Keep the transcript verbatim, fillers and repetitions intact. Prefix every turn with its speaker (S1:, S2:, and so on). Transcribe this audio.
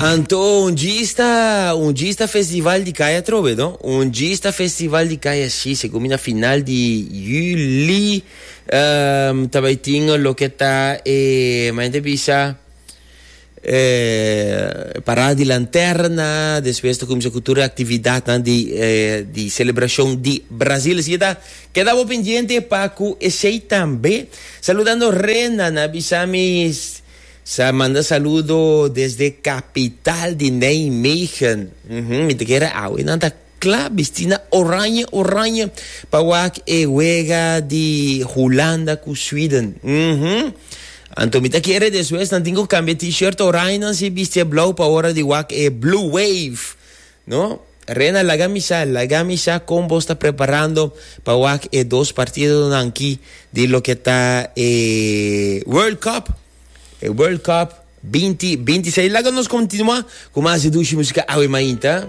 S1: Anto, un dia un dia festival di Kaya trobe, no? Un dia festival di Kaya, si, segun na final di juli, um, tambe tin loke ta, eh, mas bisa, eh, parada di lanterna, despues ta cuminsa cultura actividad di, eh, di celebracion di Brasil. Asina, keda pendiente pa cu esey tambe. Saludando Rena, na bisami sa manda saludo desde capital di Nijmegen. Uhum, mi ta kere awe nan ta cla bisti na oranje oranje pa wak e wega di Hulanda cu Sweden. Uhum. Anto mi ta kere despues nan tin cu cambia t-shirt oranje nan si bisti blauw pa ora di wak e Blue Wave. No? Rena, laga mi sa, laga mi sa con bo ta preparando pa wak e dos partido aki di loke ta eh, World Cup. E World Cup binti bintiseis. Laga nos continua cu mas dushi musica awe mainta.